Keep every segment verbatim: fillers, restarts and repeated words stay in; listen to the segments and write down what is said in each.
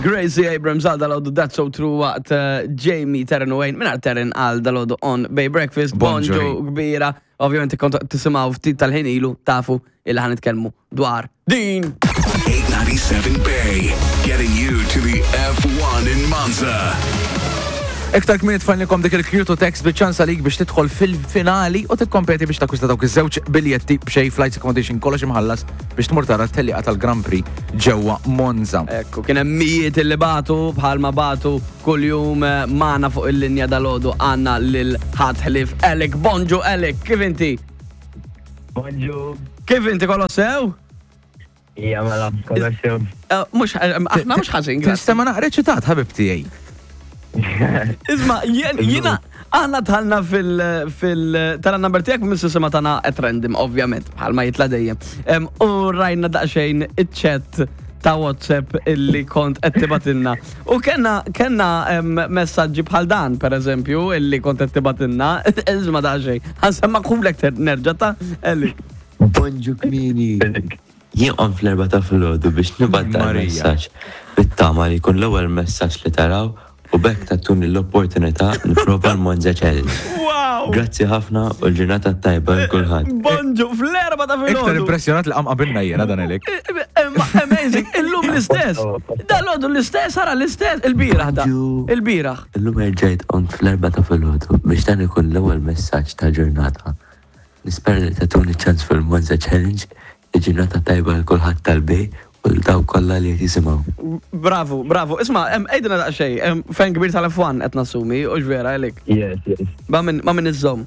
Gracie Abrams għal dalgħodu That's So True waqt eh, Jamie, Terren u Wayne, minn Terren għal dalgħodu on Bay Breakfast, Bonġu. Bonġu kbira. Ovvjament kont tisimgħu ftit tal-ħin ilu tafu illi ħa nitkellmu dwar din. eight ninety-seven Bay, getting you to the F one in Monza. Iktar kmieni tfajnielkom dik il-Q two text biċ-ċans għalik biex tidħol fil-finali u tikkompeti biex takkwista dawk iż-żewġ biljetti b'xejn, flights, accommodation, kollox imħallas biex tmur tara t-tellieqa tal-Grand Prix ġewwa Monza. Ekku, kien hemm mijiet illi bagħtu bħalma bagħtu kuljum eh, magħna fuq il-linja dalgħodu għandna lil ħadd ħlief Alec. Bonġu Alec, kif inti? Bonġu. Kif inti, kollox sew? Ija mela, kollox sew. Eh, Mhux, eh, aħna mhux ħażin, grazzi. Tinstema naqra eċitat, ħabib tiegħi. Isma, jien- jiena, aħna dħalna fil, fil, tal-number tiegħek mis-sistema tagħna at random, ovvjament, bħalma jitla dejjem. Em, U rajna daqsxejn iċ-chat ta' WhatsApp illi kont qed tibgħatilna. U kellna kellna em, messaġġi bħal dan, per eżempju, illi kont qed tibgħatilna. Isma' daqsxejn. Ħa nsemmagħhulek nerġa' ta' Elli. Bonġu kmieni. Jien qom fl-erbgħa ta' filgħodu biex nibgħat dan Marija. messaġġ bit-tama li jkun l-ewwel messaġġ li taraw u b'hekk tagħtuni l-opportunità nipprova l-Monza Challenge. Wow! Grazzi ħafna u l-ġurnata tajba lil kulħadd. Bonġu, fl-erbgħa ta' Iktar filgħodu. impressjonat li qam qabilna jiena dan Alec. Amazing, illum l-istess. Dalgħodu l-istess, ara l-istess, il-bieraħ da. Bonġu. Il-bieraħ. Illum erġajt qomt fl-erbgħa ta' filgħodu biex dan ikun l-ewwel messaġġ tal-ġurnata. Nispera li tagħtuni ċans fil-Monza Challenge, il-ġurnata tajba lil kulħadd tal-Bay u lil dawk kollha li qed jisimgħu. Bravo, bravo. Isma, em, għidilna daqsxejn, em, fan kbir tal-F one qed nassumi, u vera għalik. Yes, yes. Ma min ma min iżżomm?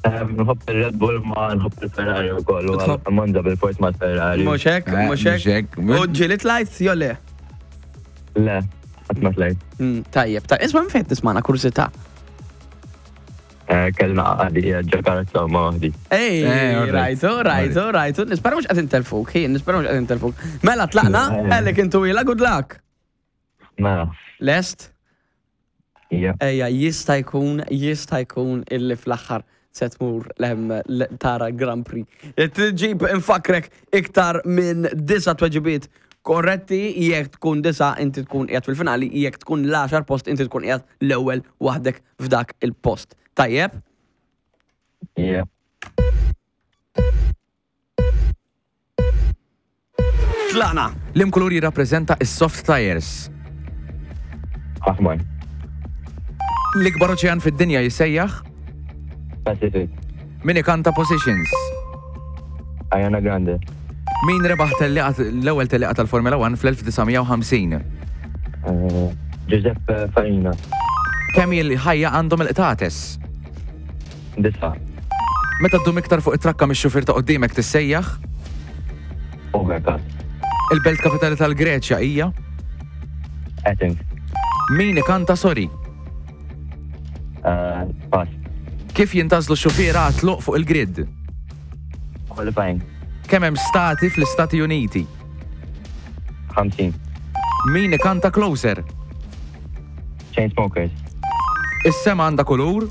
Um, Nħobb il-Red Bull ma nħobb il-Ferrari u kollu. Tħobb- Monza bil-fors ma' Ferrari. Mhux hekk, Eh, mhux hekk. mhux hekk. U ġieli tlajt, jew le? Le, qatt ma tlajt. Mm, Tajjeb, tajjeb. Isma, minn fejn tismana, kurżità? Eh, Kellna għadi ġo karozza ma waħdi. Ej, Eh, all right. rajtu, rajtu, rajtu. Nispera mhux qed intelfuk, ħin, nispera mhux qed intelfuk. Mela tlaqna, Alec intu ila, good luck. Mela, Lest? ija. Ejja, jista' jkun, jista' jkun illi fl-aħħar se tmur lem l- tara Grand Prix. Tġib infakrek iktar minn disa tweġibiet korretti, jekk tkun disa inti tkun qiegħed fil-finali, jekk tkun l-għaxar post inti tkun qiegħed l-ewwel waħdek f'dak il-post. Tajjeb? Ija. Tlaqna! Liema kulur jirrappreżenta is-soft tires? Aħmar. L-ikbar oċean fid-dinja jissejjaħ? Pacific. Min ikanta Positions? Ariana Grande. Min rebaħ tellieqa- l-ewwel tellieqa tal-Formula one fl-elf disa' mija u ħamsin? Eh, Giuseppe Farina. Kemm il-ħajja għandhom il-qtates? Disa. Meta ddum iktar fuq it-trakka mix-xufier ta' quddiemek tissejjaħ? Overcast. Il-belt kapitali tal-Greċja hija? Athens. Min ikanta Sorry? Eh, Pass. Kif jintgħażlu x-xufiera għat-tluq fuq il-grid? Qualifying. Kemm hemm stati fl-Istati Uniti? ħamsin. Min ikanta Closer? Chainsmokers. Is-sema għandha kulur?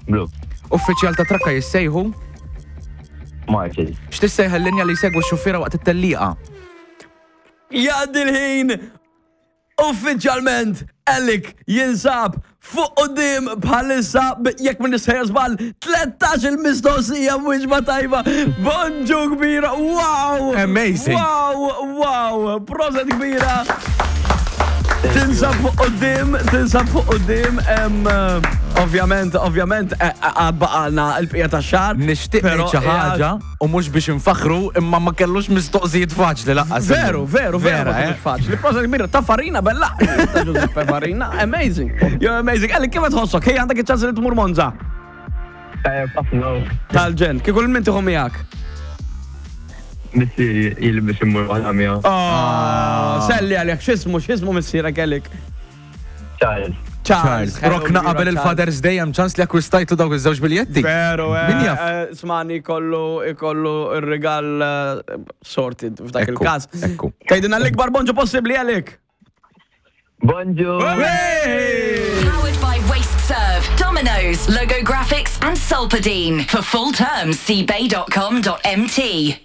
Blu. Uffiċjal ta' trakka jissejħu? Marshals. X'tissejħ il-linja li jsegwu x-xufiera waqt it-tellieqa? Jgħaddi l-ħin! Uffiċjalment, Alec jinsab fuq quddiem bħalissa b- jekk minn sejjer żball tlettax il-mistoqsija mhux tajba. Bonġu kbira, wow! Amazing. Wow, wow, proset kbira. Tinsab fuq quddiem, tinsab fuq quddiem, em, eh, ovvjament, ovvjament, eh, għad baqalna il-bqija tax-xahar. Nixtieq però ngħid xi ħaġa u mhux biex infaħru imma ma kellux mistoqsijiet faċli lanqas. Veru, veru, veru, Vera, eh? eh? Faċli. Proset kbira, ta' Farina, bella. Ta' Giuseppe Farina, amazing. You're amazing. Alec, kif tħossok? Hej, għandek iċ-ċans li tmur Monza. Tajjeb, ħafna. Tal-ġenn, kieku lil min tieħu miegħek? Missieri ili biex immur waħda miegħu. Oh, selli għalek, x'ismu, x'ismu missierek Alec? Charles. Charles, rokna Hello, qabel Charles. il-Father's Day hemm ċans li akkwistajtu dawk iż-żewġ biljetti. Veru, eh, Min jaf? eh, Smani kollu ikollu il-rigal eh, sorted f'dak Ekku, il-każ. ekku. Tgħidilna l-ikbar bonġu possibbli, Alec. Bonġu! Powered by Waste Serve, Domino's, Logo Graphics, and Solpadeine. For full terms, see bay dot com dot M T.